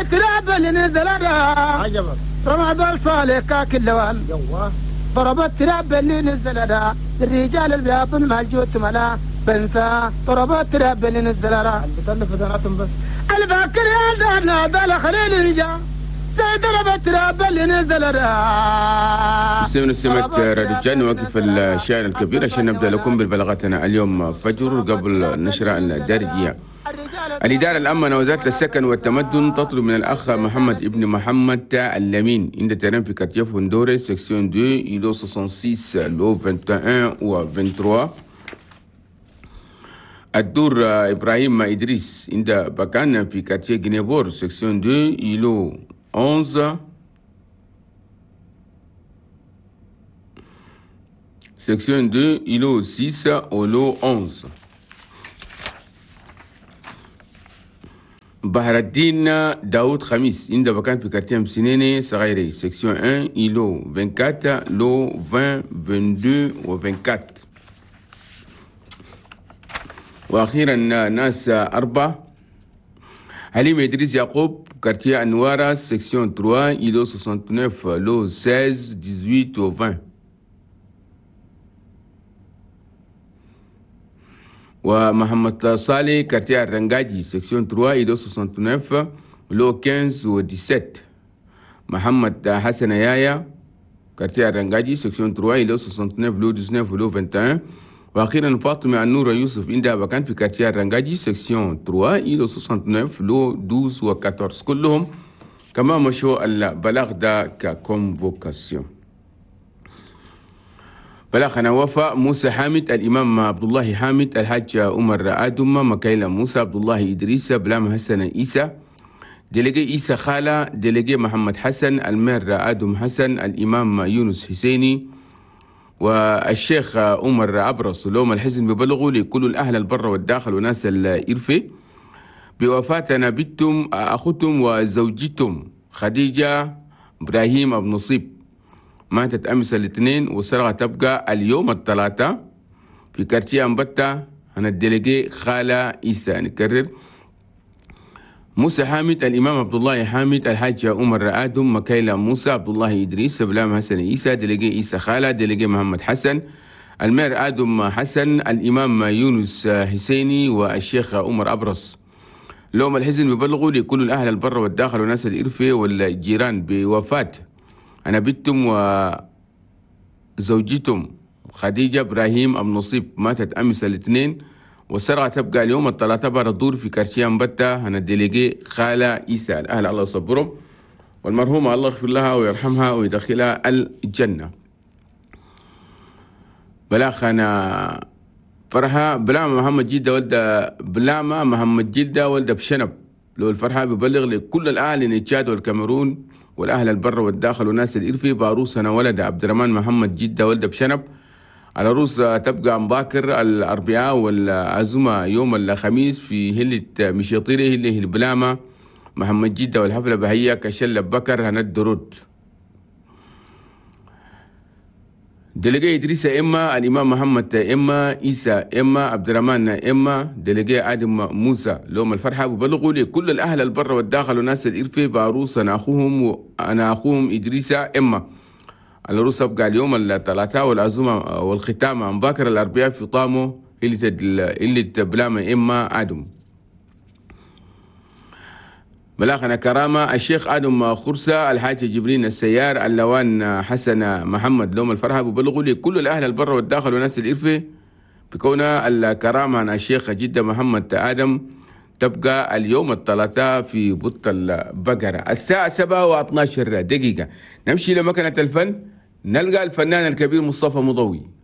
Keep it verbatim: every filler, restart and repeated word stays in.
تراب اللي نزل عجبك رمضان صالح كاك اللوال يوه ضربت تراب اللي نزل الرجال البياض مع الجوت ملا بنسى ضربت تراب اللي نزل اللي بتلف بس الباكر يا دارنا دال خليل الجا ضربت تراب اللي نزل سمعنا سمعت رجال نوقف الشاعر الكبير عشان نبدا لكم بالبلاغاتنا اليوم فجر قبل النشرة الدارجية. الإدارة العامة وزارة السكن والتمدن تطلب من الأخ محمد ابن محمد اللمين عند terrain في quartier فندوري section اثنين îlot ستة وستين lot واحد وعشرين و ثلاثة وعشرين. الدور إبراهيم إدريس عند بكان في quartier جنيبور section اثنين îlot أحد عشر section اثنين îlot ستة و lot أحد عشر. بحر الدين داود خميس عند بكان في quartier مسنيني صغيري section واحد îlot أربعة وعشرين lot عشرين اثنين وعشرين و أربعة وعشرين. واخيرا ناس أربعة حليم إدريس يعقوب quartier أنوارا section ثلاثة îlot تسعة وستين lot ستة عشر ثمانية عشر و عشرين. ومحمد صالح quartier الرنجاجي section ثلاثة îlot تسعة وستين lot خمسة عشر و سبعة عشر. محمد حسن يايا quartier الرنجاجي section ثلاثة îlot ستة وستين lot تسعة عشر و lot واحد وعشرين. واخيرا فاطمة النور يوسف عندها بكان في quartier الرنجاجي section ثلاثة îlot ستة وستين lot اثنا عشر و أربعة عشر. كلهم كما مشوا البلاغ ده ك convocation. بلاغنا وفاء موسى حامد الإمام عبد الله حامد الحاج عمر آدم مكايلة موسى عبد الله إدريس بلام حسن إيسى délégué إيسى خالة délégué محمد حسن ال maire آدم حسن الإمام يونس حسيني والشيخ عمر أبرص. لهم الحزن ببلغوا لكل الأهل البر والداخل وناس الإرفي بوفاتنا بنتم أختم وزوجتم خديجة إبراهيم أبو نصيب ماتت أمس الاثنين والسرقة تبقى اليوم الثلاثاء في quartier أمبتة. أنا ال délégué خالة إيسى. نكرر موسى حامد الإمام عبد الله حامد الحاج عمر آدم مكايلة موسى عبد الله إدريس بلام حسن إيسى délégué إيسى خالة délégué محمد حسن ال maire آدم حسن الإمام يونس حسيني والشيخ عمر أبرص. لهم الحزن ببلغوا لكل الأهل البر والداخل وناس الإرفة والجيران بوفاة أنا بنتم وزوجتم خديجة إبراهيم أبو نصيب ماتت أمس الاثنين والسرقة تبقى اليوم الثلاثاء بعد الظهر في quartier أمبتة. أنا ال délégué خالة إيسى. الأهل الله يصبرهم والمرحومة الله يغفر لها ويرحمها ويدخلها الجنة. بلاخنا فرحة بلاما محمد جدة ولد بلاما محمد جدة ولد بشنب لو الفرحة ببلغ لكل الأهل نتشاد والكاميرون والأهل البر والداخل وناس الإرفي باروسنا ولد عبد الرحمن محمد جدة ولد بشنب على روس تبقى مباكر الأربعاء والعزومة يوم الخميس في هلة مشيطيري هلة البلامة محمد جدة والحفلة بهية كشلة بكر هند درود. délégué إدريس إما الإمام محمد إما إيسى إما عبد الرحمن إما délégué آدم موسى لهم الفرحة ببلغوا لكل الأهل البر والداخل وناس الإرفي باروس أنا أخوهم وأنا أخوهم إدريس إما العروس أبقى اليوم الثلاثاء والعزومة والختامة مباكر الأربعاء في طامو اللي تدل اللي تبلامة إما آدم. بلاغنا كرامة الشيخ آدم خرسة الحاج جبرين السيار اللوان حسن محمد لهم الفرحة ببلغوا لكل الأهل البر والداخل وناس الإرفة بكون الكرامة عن الشيخ جدة محمد آدم تبقى اليوم الثلاثاء في بط البقرة الساعة سبعة واثناشر دقيقة. نمشي لمكنة الفن نلقى الفنان الكبير مصطفى مضوي.